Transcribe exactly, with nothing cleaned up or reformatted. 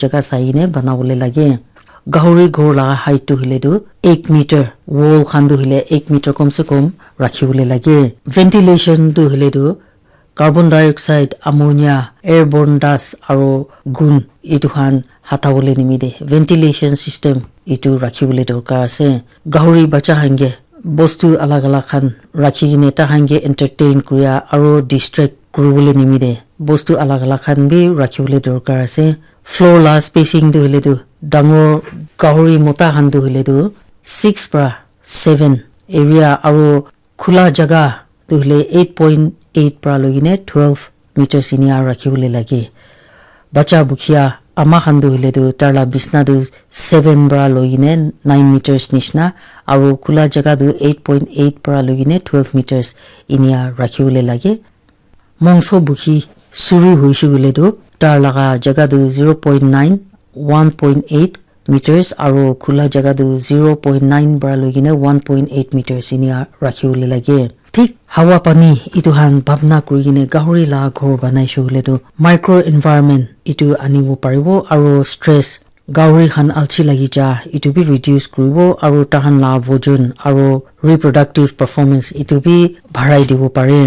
jaga sai kene banabole lage. Gahori ghor laga height tu hoile tu ek meter, wall khan tu hoile ek meter kom se kom rakhi bole lage. Ventilation tu hoile tu carbon dioxide, ammonia, airborne dust aro gun etu khan hata bole nimite ventilation system etu rakhi bole dorkar ase. Gahori bacha khan ke bostu alag alag khan rakhi kene tai khan ke entertain kuria aro distract kuri bole nimite bostu alag alag khan bi rakhi bole dorkar ase. Floor la spacing tu hoile tu dangor gahori mota khan tu hoile tu six pra seven area aro khula jaga tu hoile eight point eight pra loi kene twelve meters enia rakhi bole lage. Bacha bukhia ama khan tu hoile tu tar la bisna tu seven pra loi kene nine meters nishina aro khula jaga tu eight point eight pra loi kene twelve meters enia rakhi bole lage. Mongso bukhi suru hoise koile tu tar laga jaga tu zero point nine, one point eight meters aro khula jaga tu zero point nine pra loi kene one point eight meters enia rakhi bole lage. Thik hawa pani etu khan bhabna kuri kene gahori la ghor banai se koile tu micro environment etu anibo paribo aro stress gahori khan alchi lagi ja etu bi reduce kuribo aro tai khan la vojon aro reproductive performance etu bi barai dibo pare.